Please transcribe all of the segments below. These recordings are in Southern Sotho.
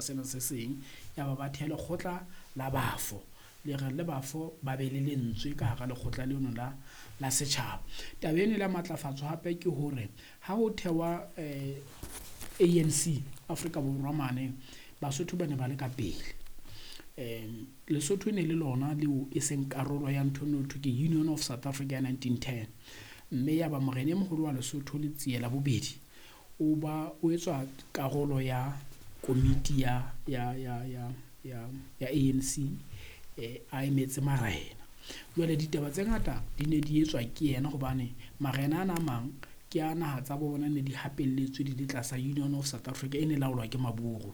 Sena se seng ya ba ba theha lekgotla la bafo, le re le bafo ba be le lentswe ka hara lekgotla leno la setjhaba. Taba eno e la matlafatswa hape ke hore ha ho thewa ANC Afrika Borwa mane, Basotho ba ne ba le ka pele. Lesotho e ne le lona leo e seng karolo ya ntho eno thwe ke Union of South Africa ya 1910. Mme ya ba morena e moholo wa Lesotho Letsie la bobedi o ba o etswa karolo ya komiti ya ANC a emetse marena. Jwale ditaba tse ngata di ne di etswa ke yena hobane marena ana a mang ke a naha tsa bo bona ne di hapelletswe di le tlasa Union of South Africa e ne laolwa ke Maburu.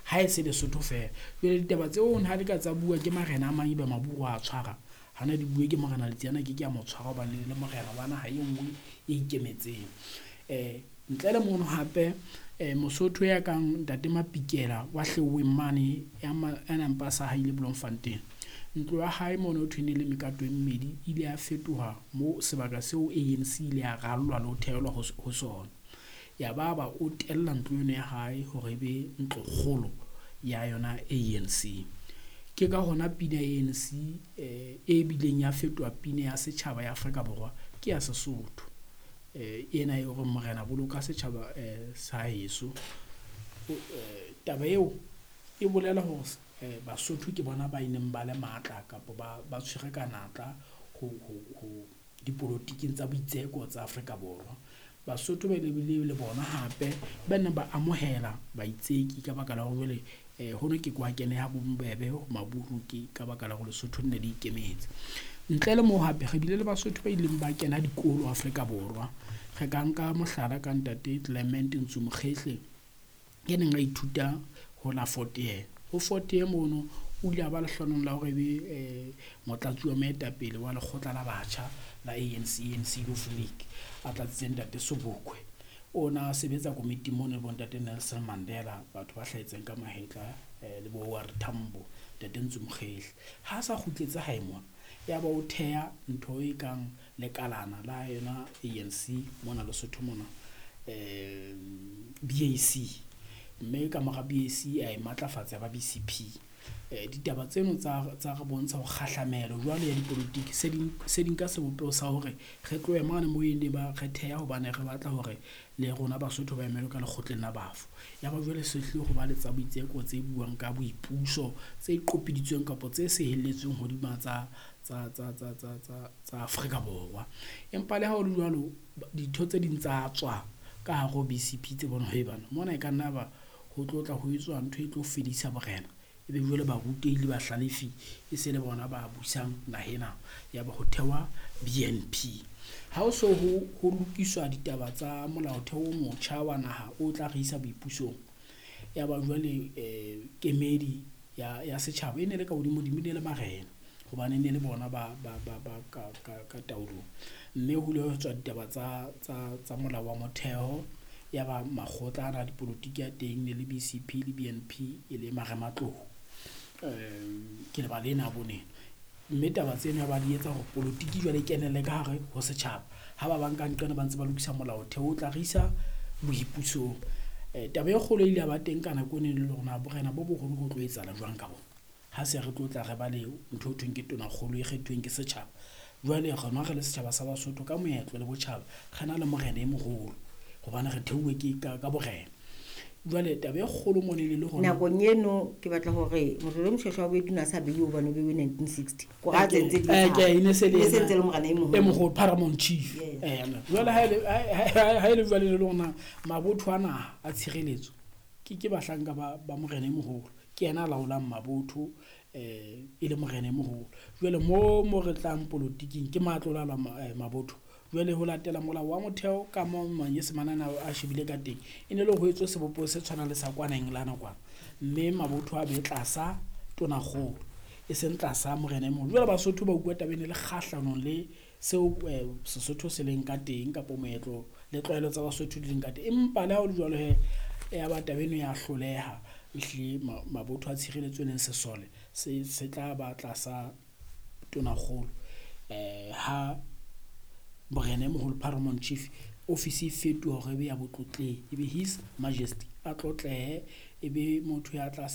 Ha e se Lesotho feela. Jwale ditaba tseo ha di ka tsa bua ke marena a mang ebe Maburu a tshwara, hana di bue ke morena Letsie a ke ke a mo tshwara hobane le morena wa naha e nngwe e ikemetseng. Ntle le mono hape Mosotho ya kang Ntate Mapikela wa Hleweng mane ya nang pa sa haile Bloemfontein. Ntlo ya hae mono ho thwe ne le mekato e mmedi ile ya fetoha mo sebaka seo ANC ile ya rallwa le ho thehelwa ho sona. Ya ba ba o tella ntlo eno ya hae hore ebe ntlo kgolo ya yona ANC. Ke ka hona pina ya ANC e bileng ya fetoha pina ya setjhaba ya Afrika Borwa ke ya Sesotho. Ena e hore morena boloka setjhaba sa heso. Taba eo e bolela hore Basotho ke bona ba ileng ba le matla kapa ba tshwere ka natla ho dipolotiking tsa boitseko tsa Afrika Borwa. Basotho ba ile bile le bona hape ba neng ba amohela baitseki ka baka la hore jwale ho no ke kwa keneha bobebe ho Maburu ke ka baka la hore Lesotho ne le ikemetse. Ntle le moo hape re bile le Basotho ba ileng ba kena dikolo Afrika Borwa. Re ka nka mohlala ka Ntate Clement Ntsu Mokhehle ya neng a ithuta ho la Fort Hare. Ho Fort Hare mono o ile a ba lehlohonolo la hore ebe motlatsi wa moetapele wa lekgotla la batjha la ANC, ANC Youth League, a tlatsitse Ntate Sobukwe. O na sebetsa komiting mono le bo Ntate Nelson Mandela, batho ba hlahetseng ka mahetla le bo OR Tambo, Ntate Ntsu Mokhehle. Ha sa kgutletse hae mona, ya ba o theha ntho e kang lekalana la yona ANC mona Lesotho mona, BAC. Mme ka mora BAC a e matlafatsa ya ba BCP. Ditaba tseno tsa re bontsha ho kgahlamelo jwale ya dipolotiki se di nka sebopeho sa hore re tlohe mane moo e ne ba re theha hobane re batla hore le rona Basotho ba emelwe ka lekgotleng la bafo. Ya ba jwale se hlile ho ba le tsa boitseko tse buang ka boipuso tse qopiditsweng kapa tse sehelletsweng hodima tsa Afrika Borwa. Empa le ha ho le jwalo ditho tse ding tsa tswa ka hare ho BCP tse bona he bana mona e ka nna ba ho tlo tla ho etswa ntho e tlo fedisa borena. Ebe jwale barutehi le bahlalefi e se le bona ba busang naha ena, ya ba ho thewa BNP. Ha ho so ho lokiswa ditaba tsa molaotheo o motjha wa naha o tla re isa boipusong, ya ba jwale kemedi ya setjhaba e ne le ka hodimo-dimo, e ne le marena hobane e ne le bona ba ka taolong. Mme ho ile hwa tswa ditaba tsa molao wa motheo, ya ba makgotla ana a dipolotiki a teng ne le BCP le BNP e le marematlou. Ke lebala ena boneng. Mme taba tseno ya ba di etsa hore polotiki jwale e kenelle ka hare ho setjhaba. Ha ba bang ka nqena ba ntse ba lokisa molaotheo o tla re isa boipusong. Taba e kgolo e ile ya ba teng ka nako eno e le hore na borena bo boholo ho tlo etsahala jwang ka bona. Ha se re tlo tla re ba le ntho e thweng ke tonakgolo e kgethuweng ke setjhaba. Jwale rona re le setjhaba sa Basotho ka moetlo le botjhaba re na le morena e moholo hobane re theuwe ke ka borena. Jwale taba e kgolo mona e le hore nakong eno ke batla hore Morena Moshoeshoe wa bobedi o ne a sa beiwe hobane o beiwe 1960. Ko ra tse ntse di Ke e ne se le E se ntse le morena e moholo. E moholo, Paramount Chief. Jwale ha e le jwale le lona mabotho a naha a tshireletso ke bahlanka ba morena e moholo. Ke yena a laolang mabotho e le morena e moholo. Jwale mo re tlang polotiking ke matlo la mabotho. Jwale ho latela molao wa motheo ka mo manyesemane ana a shebile ka teng, e ne le ho etswe sebopeho se tshwanang le sa kwana Engelane kwana. Mme mabotho a be tlasa tonakgolo, e seng tlasa morena e moholo. Jwale Basotho ba utlwa taba ena le kgahlanong le seo Sesotho se leng ka teng kapa moetlo le tlwaelo tsa Basotho di leng ka teng. Empa le ha ho le jwalo he, ya ba taba eno ya hloleha. Ehlile mabotho a tshireletso e leng sesole se tla ba tlasa tonakgolo. Ha morena e moholo Paramount Chief office e fetoha hore e be ya botlotleng, e be His Majesty a tlotlehe E be motho ya tla.